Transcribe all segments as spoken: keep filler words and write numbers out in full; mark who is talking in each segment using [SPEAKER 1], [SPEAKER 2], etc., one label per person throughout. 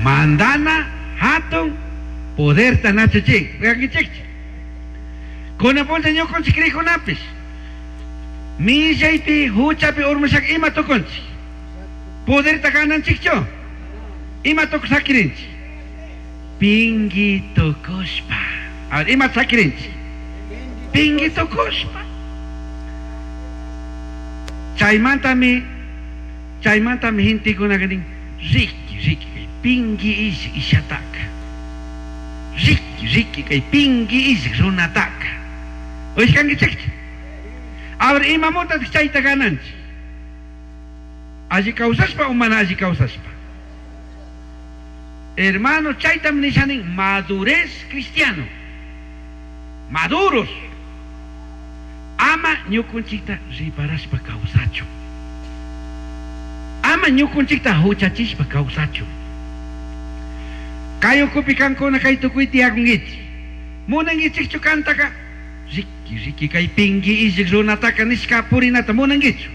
[SPEAKER 1] Mandana hatun poderta nachuchik. Uyankichikchu? Kunan punlla ñukanchik crikunapish. Millaypi huchapi urmashaka ima tukunchik? Poderta gananchikchu? Ima tukush sakirinchik? Pingui tukushpa. A ver, ima sakirinchik? Pingui tukushpa. Chaymantami, chaymantami gentekunaka nin, riki, riki, kay pingui ish ishataka. Riki, riki, kay pingui ish runataka. Uyashkankichikchu? A ver, imamuntataq chayta gananchik? Alli kawsashpa o mana alli kawsashpa? Hermano, chaytam nishanin madurez cristiano. Maduros. Ama ñukunchikta riparashpa kawsachu. Ama ñukunchikta huchachishpa kawsachu. Kay ukupi kankuna kay tukuy tiyakunkichik. Munankichikchu kantaka? Riki, riki, kay pingui illik runataka nishka purinata munankichu?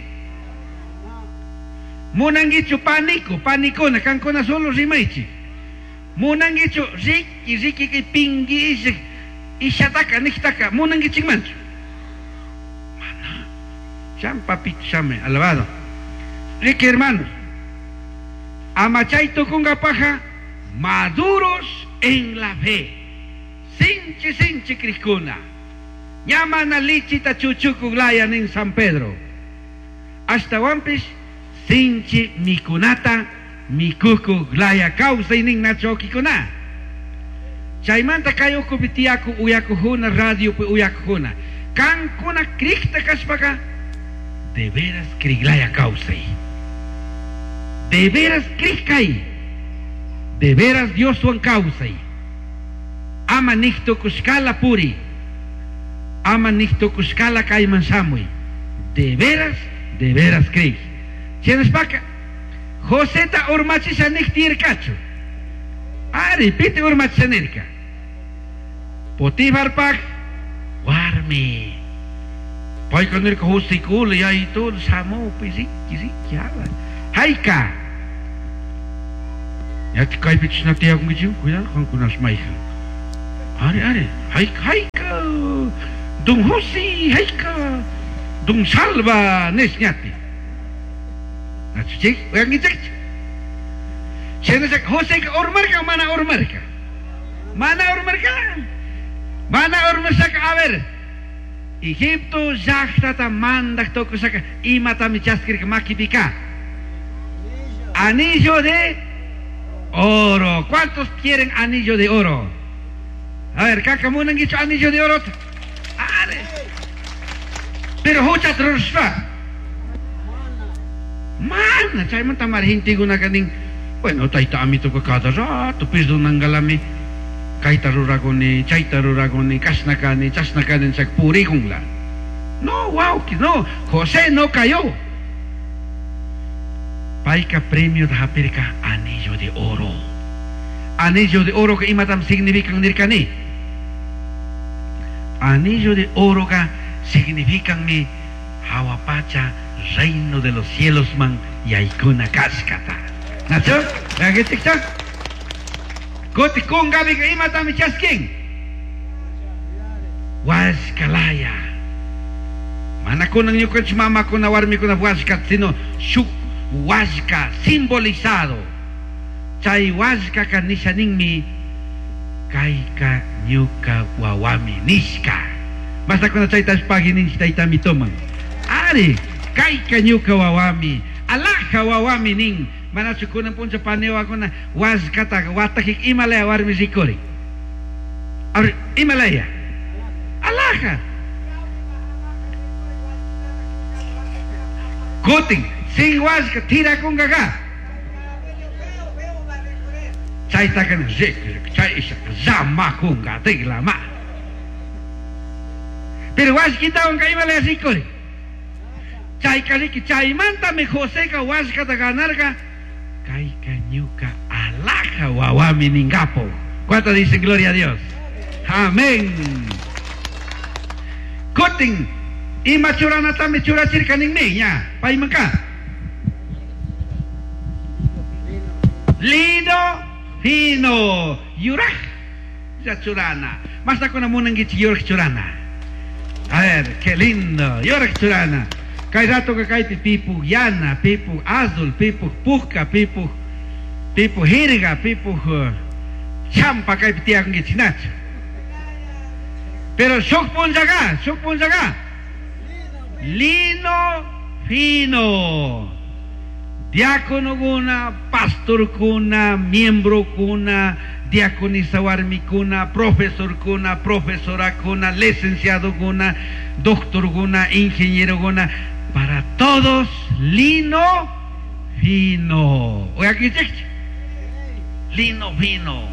[SPEAKER 1] Munankichu paniku, panikuna, kankuna solo rimaychik. Munankichu riki, riki, kay pingui illik ishataka niktaka munankichikmanchu? Mana. Sham, papito, shame, alabado. Riki, hermanos. Ama chay tukungapaja maduros en la fe. Sinchi, sinchi crikuna. Ña mana lichita chuchukuk laya nin San Pedro. Ashtawanpish sinchi mikunata mikuku laya kawsay nin nachokikuna. Chaymanta kay ukupi tiyaku uyakujuna radiopi uyakujuna. Kankuna krikta kashpaka de veras kriglaya kawsay. De veras krikay. De veras Dioswan kawsay. Ama niktukushkala puri. Ama niktukushkala kayman shamuy. De veras, de veras krik. Shinashpaka Joseta urmachisha niktirkachu. Ari, piti urmachisha nirka. Potifarpaj warmi. Payka nirka Josikula yayitula shamupi riki riki hala. Hayka. Ñati kaypi chishna tiyakunkichik, cuidado kankunash mayhan. Ari, ari, hayka, hayka. Don José, hayka. Don Salva, nish ñati. Nachuchik, uyankichikchu. Shinashaka Joseka urmarka o mana urmarka? Mana urmarka? Mana urmashaka, a ver. Egipto llaqtata mandaq tukushaka imatami chaskirka makipika. Anillo de oro. ¿Cuántos quieren anillo de oro? A ver, kaka munankichu anillo de oro. Are. Pero huchata rurashpa. Mana, chaymanta mari gentekunaka nin. Bueno, tayta amituka cada rato perdonangalami. Kayta rurakuni, chayta rurakuni, kashna kani, chashna kani, chak purikunla. No, wawki, no. José no cayó. Payka premio hapirka anillo de oro. Anillo de oro que imatam significan nirkani. Anillo de oro ka significan mi hawapacha reino de los cielos man yaykuna kashkata. Nacho? Yankichikcha? Kuti kunkapika imatami chaskin. Washkalaya. Mana kunan ñukanchik mamakuna warmikuna washka, sino shuk washka simbolizado. Chay washkaka nisha ninmi kayka ñuka wawami nishka. Basta kuna chayta pagui ninchik taytami toman. Ari, kayka ñuka wawami, alaja wawami nin. Manachu kunan puncha paniwakuna washkata watakik imalaya warmi rikuri. Ari, imalaya. Alaja. Kutin, sin washka tirakungaga. Chaytaka rik, rik, chay ishaka llamakunga, tiglama. Pero washkitawan imalaya rikuri. Chayka riki, chaymantami Joseka washkata ganarka. Kayka ñuka alaja wawami ningapo. ¿Cuántos dicen gloria a Dios? Amén. Kutin, ima churanatami churachirka ninmi, ña, paymanka. Lino fino. Yuraj churana. Mashnakuna munanguichik yuraj churana. A ver, qué lindo. Yuraj churana. Kay ratoka kaypi pipuj yana, pipuj azul, pipuj puka, pipuj pipuj jirga, pipuj uh, champa kaypi tiyakunkichik nachu. Pero shuk punllaga, shuk punllaga. Lino fino. Diáconokuna, pastorkuna, miembrokuna, diaconisa warmikuna, profesorkuna, profesorakuna, licenciadokuna, doctorkuna, ingenierokuna, para todos lino fino. Oye, lino fino.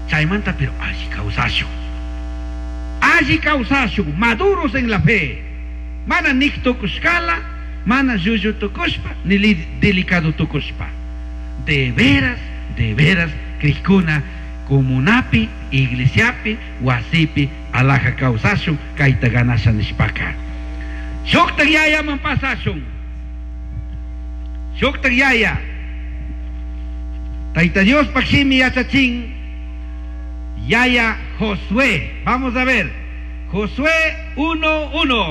[SPEAKER 1] Chaymanta, pero alli kawsashun. Alli kawsashun, maduros en la fe. Mana nik tukushkala, mana llullu tukushpa, ni delicado tukushpa. De veras, de veras, crijkuna, comunapi, iglesiapi, wasipi, alaja kawsashun, kayta ganasha nishpaka. Shuktak yayaman pasashun. Shuktak yaya. Tayta Diospaj shimi yachachin. Yaya Josué. Vamos a ver. Josué uno uno.